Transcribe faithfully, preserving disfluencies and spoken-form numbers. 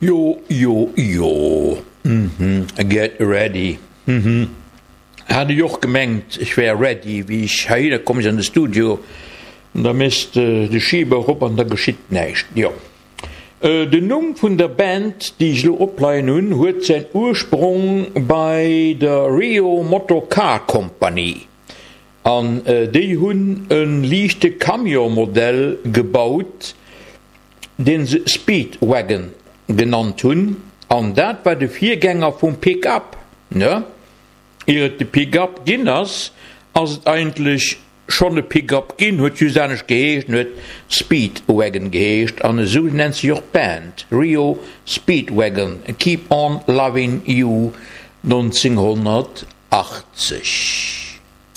Jo, jo, jo, mhm, get ready, mhm. Hat ech och gemengt, ech wär ready, wéi ech heihinner komm sinn an de Studio, an da méchs de de Schiber erop an da geschitt näischt. Jo, den Numm vun der Band, déi ech elo opleien hunn, huet säin Ursprong bei der Rio Motor Car Company, an déi hunn e liichte Camion-Modell gebaut, dee se Speedwagon genannt hunn, an dat war de Virgänger vum Pick-up, ne? Ier et de Pick-up ginn ass, ass et eigentlech schonn e Pick-up ginn, huet just anescht geheescht, en huet Speedwagon geheescht, an esou nennt sech och d'Band, Rio Speedwagon, Keep On Lovin' You, nonzénghonnertachtzeg.